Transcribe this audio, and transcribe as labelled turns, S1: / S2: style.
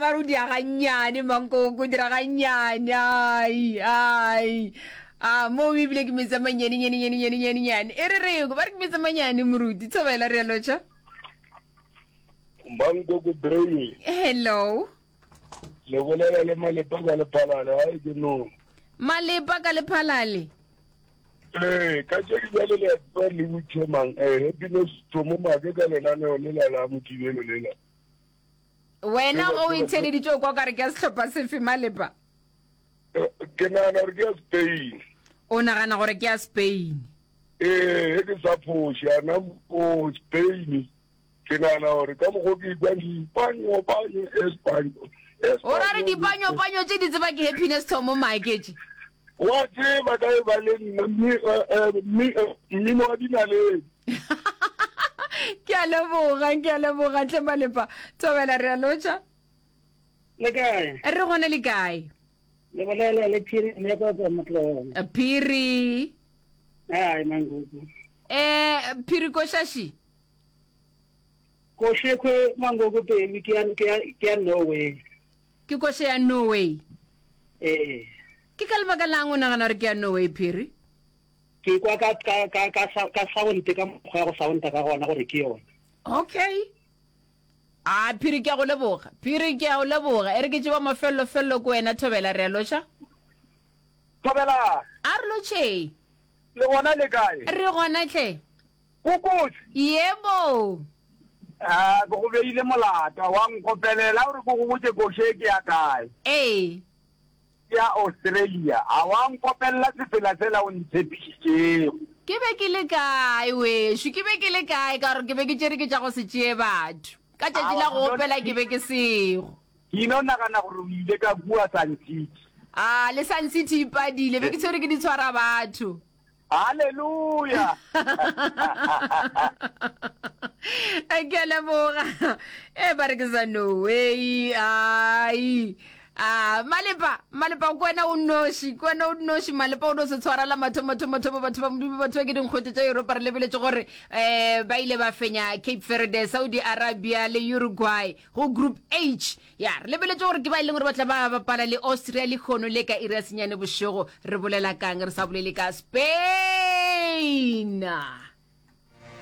S1: ba re o dia gannyane mankoko, o dira gannyane. Ai, ai. A mo ebile ke metsi a mannyane nyane nyane nyane nyane nyane. E re re ba re ke metsi a mannyane moruti. Thobela re a lotšha.
S2: Mankoko Brain.
S1: Hello.
S2: Le bolela le Malepa ka Lephalale, ga e ke no.
S1: Malepa ka Lephalale.
S2: Ee, ka tše di bjale le a tseba le butše mang eh happiness thomo make ka lenaneo lela la mokibelo lela.
S1: Wena o itheleditše o kwa kare ke ya sehlopha sefe Malepa?
S2: Eh, ke nagana gore ke ya Spain.
S1: O nagana gore ke ya Spain?
S2: Ee, ge ke sa phoše, ana mo Spain. Ke nagana gore ka mokgwa ke ikwa dipanyo-panyo espanyo.
S1: O ra re dipanyo-panyo tše di tseba ke Happiness Thomo Maaketše?
S2: Wa tseba ka e ba le nna mmino wa dinaledi.
S1: Ke a leboga, ke a leboga tle Malepa. Thobela re a lotšha.
S3: Le kae?
S1: Re gona le kae?
S3: Le bolela le Phiri Meko go Motlong.
S1: Phiri.
S3: Ai manguku.
S1: Eh Phiri Koshashi.
S3: Koše kwe mangogo pele ke ya ke ya ke ya Norway.
S1: Ke koše ya Norway.
S3: Ee.
S1: Ke ka lebaka lang o nagana gore ke ya Norway Phiri?
S3: Ke kwa ka ka ka ka ka sound ka mokgwa ya go sounda ka gona gore ke yona.
S1: Okay. A Phiri ke a go leboga. Phiri ke a go leboga. E re ke tšeba mafello fello ko wena Thobela re a lotšha.
S4: Thobela.
S1: A re lotšheng.
S4: Le gona le kae?
S1: Re gona hle.
S4: Go kotsi.
S1: Yebo.
S4: A ke go beile molato, wa nkopelela gore ke go botše koše ke ya kae.
S1: Ee.
S4: Ke ya Australia. A wa nkopelela sefela sela o ntshepišitšego.
S1: Ke be ke le kae wešo? Ke be ke le kae ka gore ke be ke tšere ke tša go se tšee batho. Ka tšatši la go opela ke be ke sego.
S4: Ke ino nagana gore o ile ka kua Sun City.
S1: A le Sun City e padile, be ke tshwere ke di tshwara batho.
S4: Haleluya!
S1: Ke a leboga. E ba re ke sa Norway. Ai. A Malepa, Malepa ko wena o noši, ko wena o noši Malepa o no se tshwara la mathomo thomo thomo batho ba Modimo batho ba ke dinkgwete tša Europa re lebeletše gore eh ba ile ba fenya Cape Verde, Saudi Arabia le Uruguay go Group H. Ya, re lebeletše gore ke ba e leng gore ba tla ba bapala le Austria lehono le ka iri ya senyane bošego. Re bolela kang re sa bolele ka Spain?